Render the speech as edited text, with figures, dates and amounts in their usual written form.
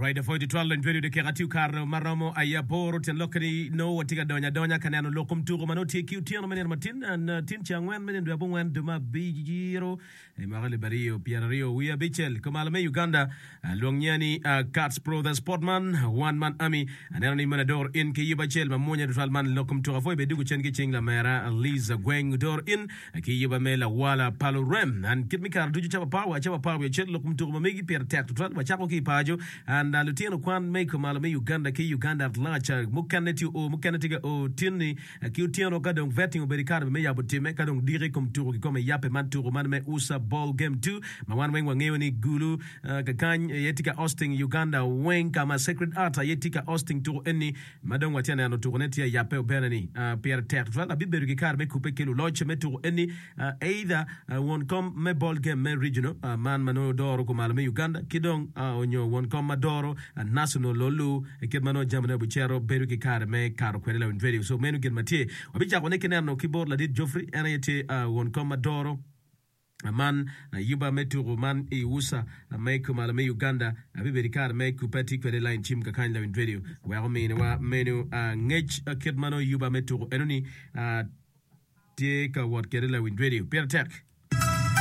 Alright, apwoyo tutwal lony radio dakika tye okato ma romo aye aboro tyen lokke ni nongo watye ka donyo adonya ka neno lok kom tuko ma nongo tye ki otyeno me nino matin tin ceng angwen me nino dwe abongwen dwe me abiro i mwaka alip 2025 kumalo me Uganda. Lwong nyinga ni Cats Pro The Sportman One Man Army. Aneno ni meno adoro in ki yub acel ma mwonya tutwal man lok kom tuko apwoyo bene dugo cen ki cing lamera Liza Gweng odoro in ki yuba me lawala pa lurem and kit me kare ducu cawa apar wa cawa 11 lok kom tuko ma megi pire tek tutwal wacako ki i paco and lutino kwan me kumalo me Uganda ki Uganda at large mukene tye oo mukene tye ka oo tinni ki otyeno ka dong vetting obedo i kare me yabo timme ka dong diki kom tuko kikome yabbe man tuko man me usa ball game 2 ma wan weng wangeyo ni gulu kakany aye tye ka hosting Uganda weng ka ma Sacred Heart aye tye ka hosting tuko eni ma dong watye ka neno tuko ne tye ayabbe obene ni pire tek tutwal abibedo ki kare me kubbe ki luloc me tuko eni either won kom me ball game me regional man ma nongo doro kumalo me Uganda ki dong onyo won kom ma doro national olu kit ma nongo jamine obicito bedo ki kare me kato kwede lawiny radio so meno gin ma tye wabicako ne ki neno ki bot ladit Geoffrey en aye tye won kom ma doro man yuba me tuku man i usa me kumalo me Uganda abibedo ki kare me kubbe atye kwede line cim kakany lawiny radio wek ominiwa meno ngec kit ma nongo yuba me tuku enoni tye ka wot kwede lawiny radio pire tek.